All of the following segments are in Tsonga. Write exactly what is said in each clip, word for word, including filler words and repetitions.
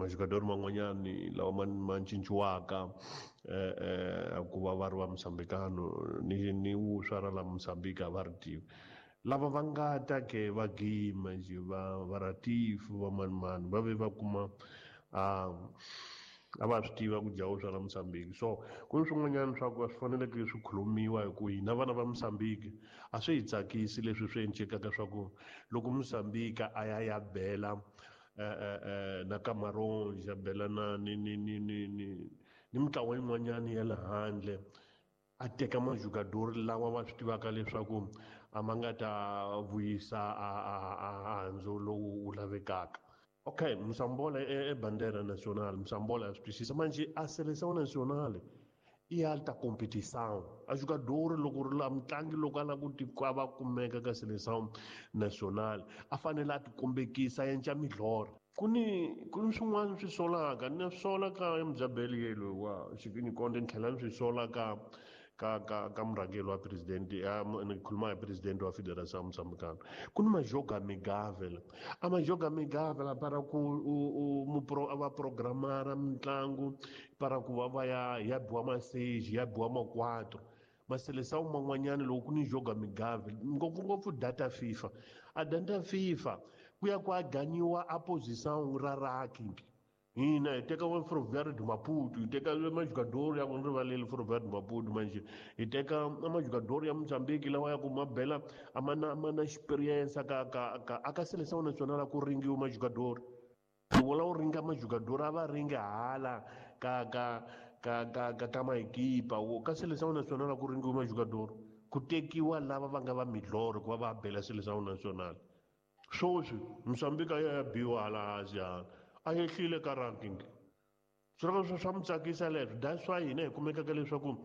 majogador man'wanyani lawa ma ma cinciwaka eh eh ku va va ri va Mozambicano ni ni vuswa ra la Mozambique a va ri tivi lava va nga ta ke va gima nje va va Ratifu va mani mani va ve va kuma a a va swi tiva ku dya vuswa ra Mozambique. So ku ni swin'wanyana swa ku a swi faneleke swi khulumiwa hi ku hina vana va Mozambique a swi hi tsakisi leswi swi endlekaka swa ku loko Mozambique a ya ya bela eh na Cameroon ya bela na ni ni ni ni ni ni mitlawa yin'wanyana ya le handle a teka majogador lawa va swi tivaka leswaku a ma nga ta vuyisa a a a handzu lowu wu lavekaka. Okay, Mosambola é bandeira nacional, Mosambola é precisa, mas a seleção nacional e alta competição. A jogador loko ri la mutlangi loko a lava ku ti va kumeka ka seleção nacional a fanele a ti kombekisa endla milorho. Ku ni ku ni swin'wana swi solaka ni sola ka Mzabeli yelo wa Xikinyi Konde ni tlhela ni swi sola ka ka ka ka murhangeri wa president ya ni khuluma hi president wa Federação Moçambicana. Ku ni majoga amigável a majoga amigável para ku u u va programara mitlangu para ku va va ya ya biwa ma seis ya biwa ma quatro maseleção man'wanyana loko ku ni joga amigável ngopfungopfu data FIFA a data FIFA ku ya ku a ganiwa a posição ra ranking. Hina hi teka wa Ferroviário de Maputo, hi teka majogador ya ku rivaleli Ferroviário de Maputo manje hi teka majogador ya Mozambique lawa ya ku ma bela a ma na ma na experience ka ka ka aka seleção nacional ku ringiwa majogador wala u ringa majogador a va ringa hala ka ka ka ka ka ka maekipa ka seleção nacional ku ringiwa majogador ku tekiwa lava va nga va milorho ku va va bela seleção nacional. Sweswi Mozambique ya biwa hala hansi hala a yehlile ka ranking. Swilo swa swa mi tsakisa leswo that's why hina hi kumekaka leswaku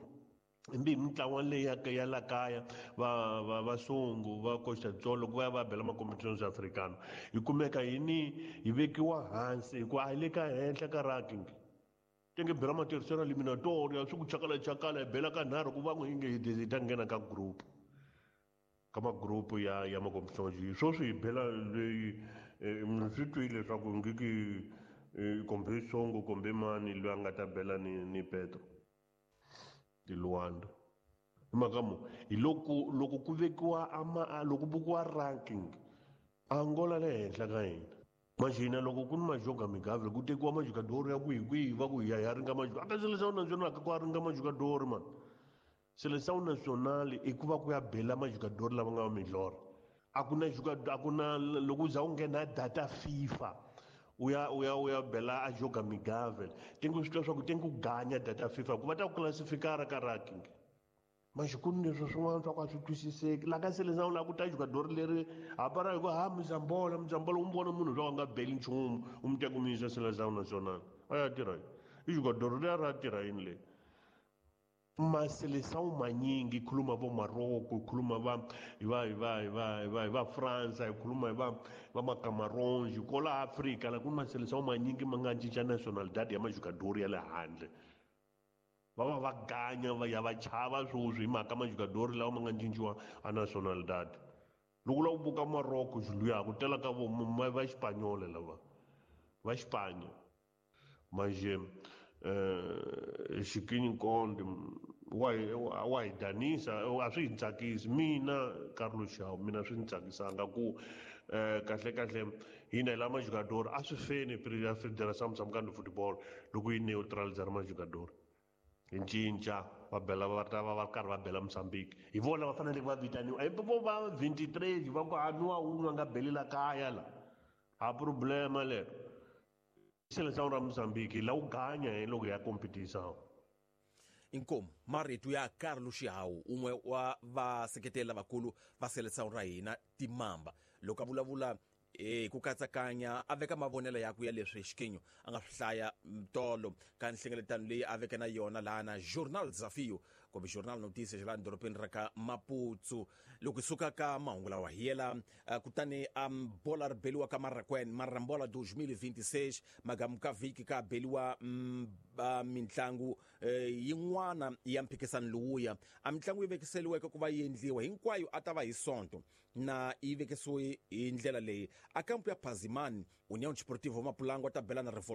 mbi mitlawa leyi ya ya la kaya va va vasungu va Costa Tsolo ku va ya va bela ma competitions africano hi kumeka hi ni hi vekiwa hansi hikuva a hi le ka henhla ka ranking. Tenge bela ma terceira eliminatória swi ku chakala chakala hi bela ka nharhu ku va n'wi nge hi ta nghena ka group ka ma group ya ya ma competitions. Sweswi hi bela leyi swi twile leswaku ngiki kumbe Songo kumbe mani loyi a nga ta bela ni ni Petro de Luanda. Hi mhaka mo hi loko loko ku vekiwa ama loko bukiwa ranking Angola le henhla ka hina. Manje hina loko ku ni majoga amigável ku tekiwa majogador ya kwihi kwihi va ku hi ya hi ya ringa majoga aka seleção nacional ka ku a ringa majogador man. Seleção nacional i ku va ku ya bela majogador lava nga va milorho. A ku na jogador a ku na loko u za u nghena data FIFA u ya u ya u ya bela a joga amigável tengo swi twa swa ku tengo ganya data FIFA ku va ta ku classificar ka ranking. Manje ku ni leswi swin'wana swa ku a swi twisiseki la ka seleção la ku ta jogador leri hapara hi ku ha Mozambola Mozambola u n'wi vona munhu loyi a nga beli nchumu u mi teka u mi yisa seleção nacional a ya tirha yini i jogador leri ra tirha yini leyi. Maseleção manyingi khuluma vo Morocco khuluma va hi va hi va hi va hi va hi va France hi khuluma hi va va ma Cameroon kola Africa la ku maseleção manyingi ma nga cinca nationalidade ya majogador ya le handle va va va ganya va ya va chava sweswi hi mhaka majogador lawa ma nga cinciwa a nationalidade. Loko u lava ku buka Morocco luya ku tela ka vo va Xipanyole lava va Xipanya manje eh Xikinyi Konde wa wa hi danisa a swi hi tsakisi mina Carlos Shaw mina swi ni tsakisanga ku eh kahle kahle hina hi la majogador a swi feni Federação Moçambicana de Futebol loko yi neutralizar majogador hi cinca va bela va ta va va karhi va bela Mozambique hi vona va fanele va vitaniwa hi vo va twenty-three va ku a nwa wun'we a nga belela kaya la a problema lero. Seleção ra Mozambique la u ganya hi loko ya competição. Inkomu marito ya Carlos Xihawu un'we wa vaseketeli lavakulu va seleção ra hina Timamba loko a vulavula eh ku katsakanya a veka mavonelo yakwe ya leswi Xikinyo a nga swi hlaya tolo ka nhlengeletano leyi a veke na yona laha na Journal Desafio kumbe Journal Notícias laha dorobeni ra ka Maputo. Loko hi suka ka mahungu lawa hi yela kutani a bola ri beliwa ka Marrakwen Marambola twenty twenty-six magamu ka vhiki ka beliwa mintlangu yin'wana ya mphikisano lowuya a mitlangu yi vekiseliweke ku va yi endliwa hinkwayo a ta va hi Sonto na yi vekisiwe hi ndlela leyi a kampu ya Pazimani União Desportiva Mapulango ta bela na Revolution